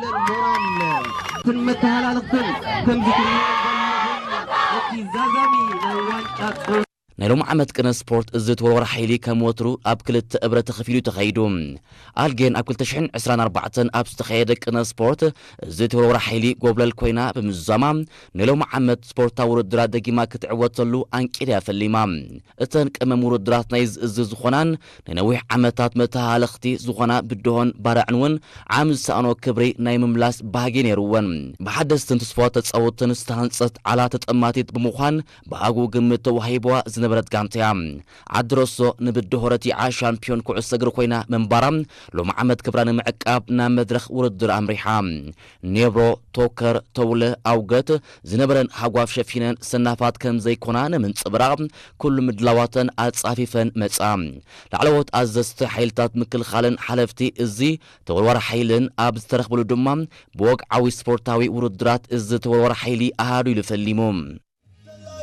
ሞራል፣ ክን መተሃላለኽትን ከምዚ ትርእይዎ ዘለኹም እቲ ዛዛሚ ናይ ዋንጫ ናይ ሎሚ ዓመት ቅነ ስፖርት እዚ ተወርዋሪ ሓይሊ ከም ወትሩ ኣብ ክልተ እብረ ተኸፊሉ ተኸይዱ። ኣልጌን ኣብ ክልተ ሽሕን ዕስራን ኣርባዕተን ኣብ ዝተኸየደ ቅነ ስፖርት እዚ ተወርዋሪ ሓይሊ ጎብለል ኮይና ብምዝዛማ ናይ ሎሚ ዓመት ስፖርታዊ ውድድራት ደጊማ ክትዕወተሉ ኣንቂድያ ፈሊማ። እተን ቀመም ውድድራት ናይ ዝእዚ ዝኾናን ንነዊሕ ዓመታት መተሃለኽቲ ዝኾና ብድሆን ባርዕን እውን ዓሚ ዝሰኣኖ ክብሪ ናይ ምምላስ ባህጊ ነይርወን። ብሓደስትን ትስፋ ተጻወትን ዝተሃንጸት ዓላ ተጠማቲት ብምዃን ብኣግኡ ግምት ተዋሂብዋ ዝነበረት ጋንታ እያ። ዓዲ ረሶ ንብድሆ ረቲዓ ሻምፒዮን ኩዕሶ እግሪ ኮይና ምንባራ ሎሚ ዓመት ክብራ ንምዕቃብ ናብ መድረኽ ውድድር ኣምሪሓ። ኔብሮ፣ ቶከር፣ ተውለ፣ ኣውገት ዝነበረን ሃጓፍ ሸፊነን ሰናፋት ከም ዘይኮና ንምንጽብራቕ ኩሉ ምድላዋተን ኣጻፊፈን መጻ። ላዕለዎት ኣዘዝቲ ሓይልታት ምክልኻልን ሓለፍቲ እዚ ተወርዋሪ ሓይልን ኣብ ዝተረኽብሉ ድማ ብወግዓዊ ስፖርታዊ ውድድራት እዚ ተወርዋሪ ሓይሊ ኣሃዱ ኢሉ ፈሊሙ።